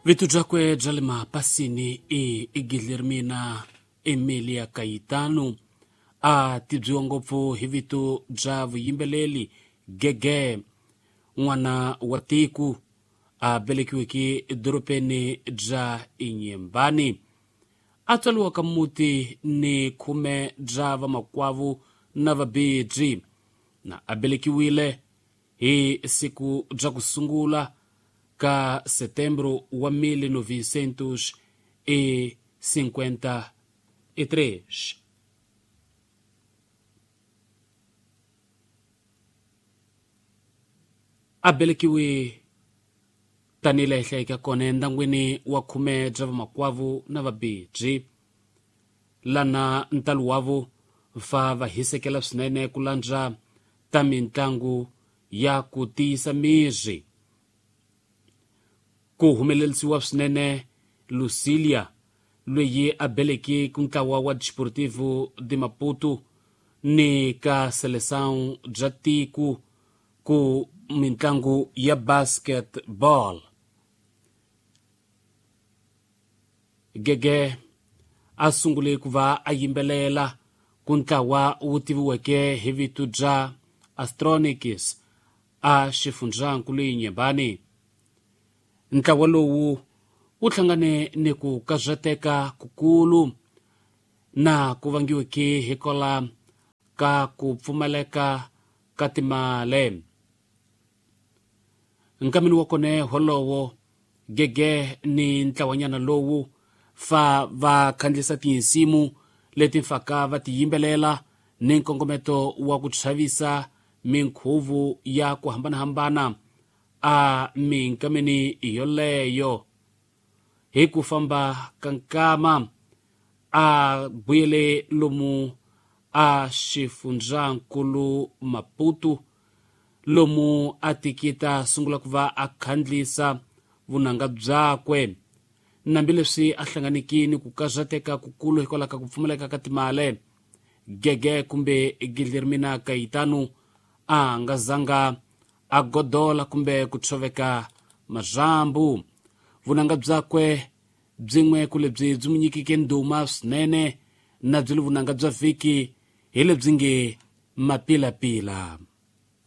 Vito byakwe bya le mapasini i Guilhermina Emilia Caetano, a tibyiwa ngopfu hi vito bya vuyimbeleri Gege, n'wana wa tiko a velekiweke edorobeni bya Inhambane. A tswariwa ka muti ni khume bya vamakwavo na vabebyi, na a velekiwile hi siku bya ku sungula ka setembro wa 1953. A velekiwe tanihi laha hi hlayeke kona endyangwini wa khume bya vamakwavo na vabebyi, lana ntalo wavo fa va hisekela swinene ku landza ta mitlangu ya ku tiyisa miri. Ku humelerisiwa swinene Lucilia, loyi a beleke ku ntlawa wa Desportivo de Maputo ni ka Seleção bya tiko ku mitlangu ya basketball. Gege a sungule ku va a yimbelela ku ntlawa wu tiviweke hi vito bya Astronics a xifundzankulu Inhambane. Ntlawa lowu wu hlangane ni ku karateka kukulu na ku vangiweke hikwalaho ka ku pfumaleka ka timali. Nkameni wa kona wolowo Gege ni ntlawanyana lowu fa va khandziyisa tinsimu leti faka va ti yimbelela ni nkongometo wa ku chavisa minkhuvo ya ku hambanahambana a minkameni yoleyo. Hi ku famba ka nkama a buyele lomu a xifundzankulu Maputo, lomu a tikita sungula ku va a khandlisa vunanga byakwe, hambileswi a hlanganeke ni ku karateka kukulu hikwalaho ka ku pfumaleka ka timali. Gege kumbe Guilhermina Caetano a nga zanga a godola kumbe ku tshoveka marhambu. Vunanga byakwe byin'we ku lebyi byi n'wi nyikeke ndhuma swinene na byi le vunanga bya vhiki hi lebyi nge Mapilapila.